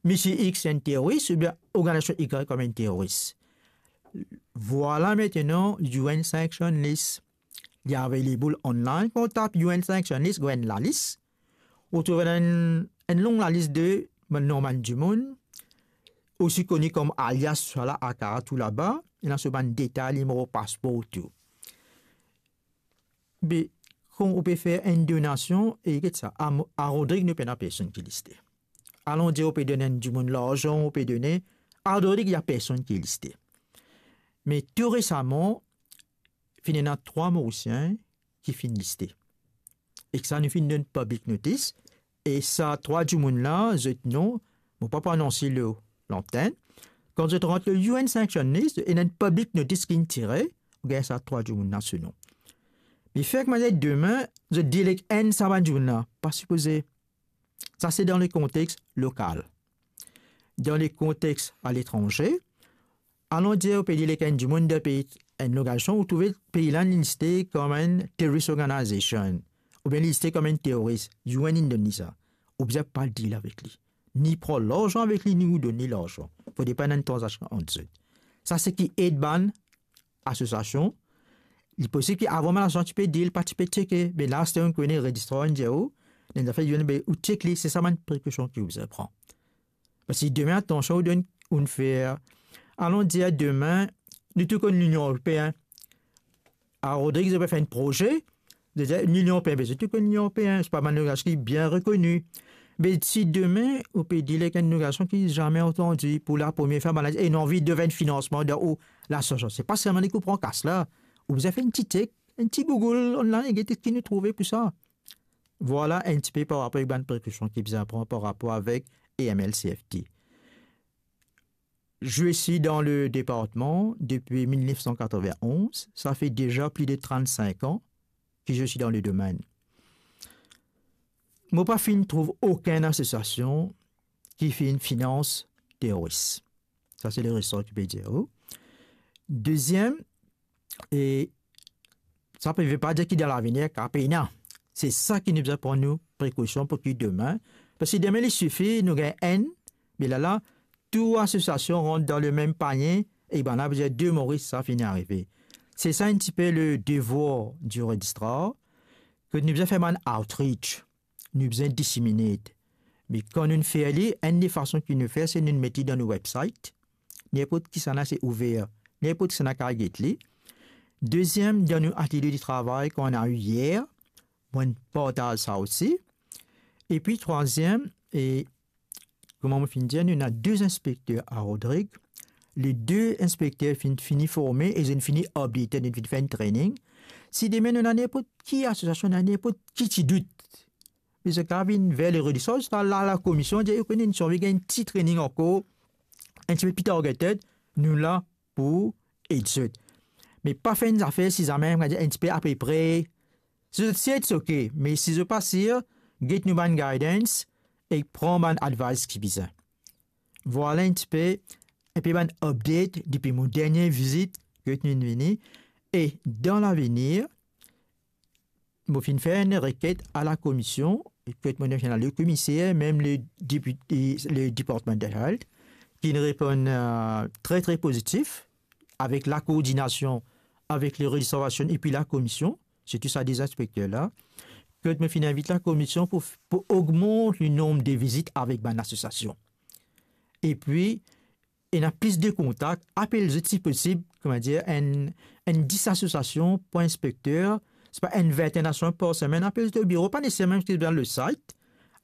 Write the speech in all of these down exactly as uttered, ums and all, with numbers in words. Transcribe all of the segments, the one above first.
Misie X enn teroris oubien organizasion Y kom enn teroris. Vwala aster U N sanction list. Li available online. Kan ou tap U N sanction list, ou gagn lalis. Ou trouv enn, enn long lalis de bann nom bann dimoun, osi koni kom alias, swala aka tou laba, ena so bann detay, nimero paspor tou. Be, kan ou pe fer enn donasion, e get sa, a, a Rodrig nou pena personn ki liste. Alon dir ou pe donn enn dimoun larzan, ou pe donn, a Rodrig, ena personn ki liste. Me tou resaman, finn ena trwa Morisien ki finn liste. Ek sa, nou finn donn public notice, e sa trwa dimoun la, zot nom, mo pa pou anons lor lantenn. Kan zot rant lor U N sanction list, ena enn public notice ki'nn tire, ou gagn sa trwa dimoun la so nom. Me fer kouma demin, zot delek enn sa bann dimoun la, pa sipoze. Sa se dan le kontex lokal. Dan le kontex aletranze, alon dir ou pe delek enn dimoun dan pei, enn lokasion, ou trouve pei la inn liste kom enn terrorist organization, oubien liste kom enn teroris, U N inn donn li sa. Ou bizin pa deal avek li. Ni pran larzan avek li, ni ou donn li larzan. Fode pa ena enn tranzaksion ant zot. Sa seki ed bann asosiasion. Li posib ki avan bann asosiasion ti pe deal, pa ti pe tcheke. Me la, aster ou kone, rezistrar inn dir ou, ena enn zafer, be, ou tchek li, se sa bann prekosion ki ou bizin pran. Parski demin, atansion, ou donn, ou fer, alon dir demin, nou tou konn Linion Eropein. A Rodrig, zot pe fer enn proze, zot dir, Linion Eropein, be zot tou konn Linion Eropein, se pa bann organizasion ki bien rekoni. Be si demin, ou pe deal ek enn organizasion ki zame antandi, pou la premie fwa, bann la, e ena anvi devenn finansman dan ou lasosiasion. Se pa selman li ki pran kas la. Ou bizin fer enn ti tchek, enn ti Google online, e get ki nou trouve pou sa. Vwala enn tipe par rapor avek bann prekosion ki bizin pran par rapor avek A M L C F T. Je suis dans le département depuis mil nef san katrovin-onz. Ça fait déjà plus de trente-cinq ans que je suis dans le domaine. Mo pa finn trouv okenn asosiasion ki finn finans teroris. Sa se le resor ki pe dir ou. Deziem, e sa pe ve pa dir ki dan lavenir kapav pena. Se sa ki nou bizin pran nou prekosion pou ki demin. Parski demin li sifi, nou gagn enn, me la la, tou asosiasion rant dan lemem panie, e bann la bizin de Moris, sa finn arive. Se sa enn tipe le devwar di rezistrar, ke nou bizin fer bann outreach, nou bizin disseminate. Me kan nou fer li, enn de fason ki nou fer, se nou met li dan nou website. Ninport kisannla se ouver, ninport kisannla kapav get li. Deziem, dan nou atelie de travay ki ena yer, mo partaz sa osi. Epi trwaziem, e kouma mo finn dir, nou ena de inspekter a Rodrig. Le de inspekter finn fini forme e zot finn fini updated, zot finn fer enn training. Si demin nou ena ninport ki asosiasion, ena ninport ki ti dout, me zot kapav vinn ver le rezistrar, zot al la, lakomision, dir, ou kone, nou ti anvi gagn enn ti training ankor, enn tipe pli targeted, nou la pou ed zot. Me pa fer enn zafer si zame, mo dir, enn tipe apepre. Si zot sir, it's ok, me si zot pa sir, get nou bann guidance e pran bann advice ki bizin. Vwala enn tipe, enpe bann update depi mo dernie vizit ki nou vini. E dan lavenir, mo finn fer enn reket a lakomision, kot mo finn al le komiser, mem le depite, le Department of Health, ki reponn, euh, tre, tre pozitif, avek lakoordinasion avek le rezistrar epi lakomision, sirtou sa de inspekter la, kot mo finn invit lakomision pou, pou ogmant le nonb de vizit avek bann asosiasion. Epi, ena plis de kontak, apel zot si posib, kouma dir, enn, enn dis asosiasion par inspekter, se pa enn vintenn asosiasion par semenn, apel zot o biro, pa neseserman ki dan le site,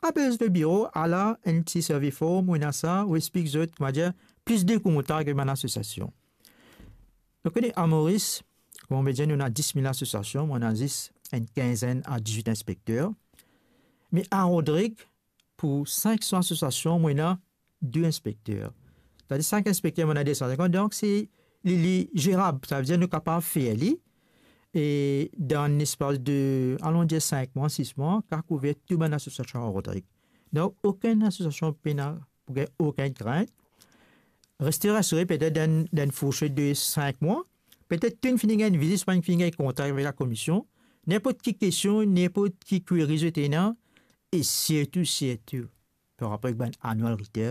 apel zot o biro, ala enn ti survey form, ou ena sa, ou explik zot, kouma dir, plis de kontak avek bann asosiasion. Donk, a Moris, kouma mo dir, nou ena dis mil asosiasion, mo ena zis enn kinzenn a dizwit inspekter. Me a Rodrig, pou sink san asosiasion, mo ena de inspekter. Setadir sink inspekter, mo ena de san sinkant, donk se li, li zerab, savedir nou kapav fer li, e dan lespas de, alon dir sink mwa, sis mwa, kapav kouver tou bann asosiasion a Rodrig. Donk, okenn asosiasion pena pou gagn okenn krint. Reste rasire, petet dan, dan enn fourset de sink mwa, petet tou inn fini gagn vizit, swa inn fini gagn kontak avek lakomision. Ninport ki kestion, ninport ki query zot ena, e sirtou, sirtou, par rapor avek bann annual return,